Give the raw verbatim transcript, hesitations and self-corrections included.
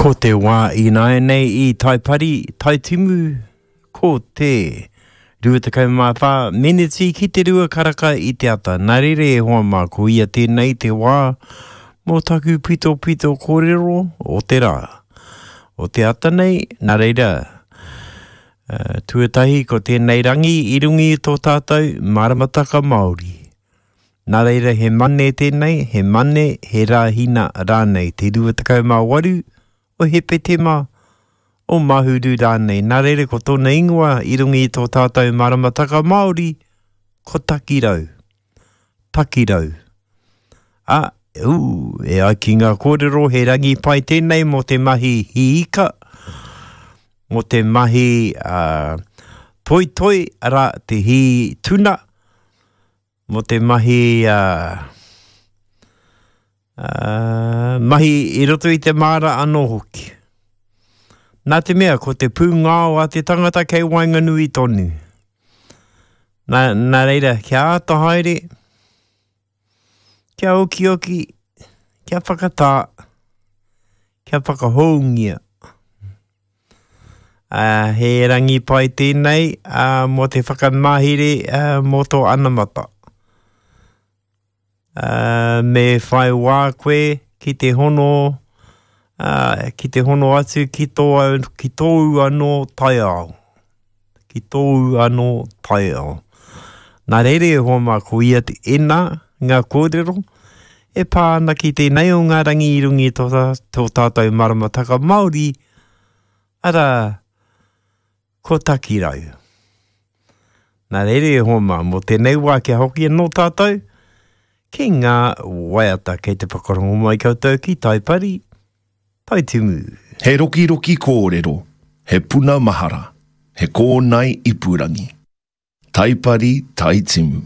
Ko te wā ināianei i Taipari, Taitimu, ko te rua tekau mā whā meneti ki te rua karaka i te ata. Nā reira e hoa mā, ko ia tēnei te wā mō taku pitopito kōrero o te rā. O te ata nei, nā reira, uh, tuatahi ko tēnei rangi i runga i tō tātou maramataka Māori. Nā reira he mane tēnei, he mane, he rāhina rānei, te rua tekau mā waru o Hepetema, o Mahuru rānei. Nā reira ko tōna ingoa i runga i tō tātou maramataka Māori, ko Takirau. Takirau. A, ū, e ai ki ngā kōrero, he rangi pai tēnei mō te mahi hiika, mō te mahi uh, toitoi, arā, te hī tuna, mō te mahi uh, uh, mahi i roto i te māra anō hoki. Nā te mea, ko te pūngao a te tangata kei waenganui tonu. Nā, nā reira, kia āta haere, kia okioki, kia whakatā, kia whakahoungia. Uh, he rangi pai tēnei uh, mō te whakamahere uh, mō tō anamata. Uh, me whai wā koe ki te hono, uh, ki te hono atu ki tō, ki tōu anō taiao. Ki tōu anō taiao. Nā reira e hoa mā, ko ia te ena ngā kōrero e pā ana ki tēnei o ngā rangi i runga i tō, tō tātou maramataka Māori, arā, ko Takirau. Nā reira e hoa mā, mō tēnei wā kia hoki anō tātou ki ngā waiata kei te whakarongo mai koutou ki Taipari, Taitimu. He rokiroki kōrero, he puna mahara, he kōnae ipurangi. Taipari, Taitimu.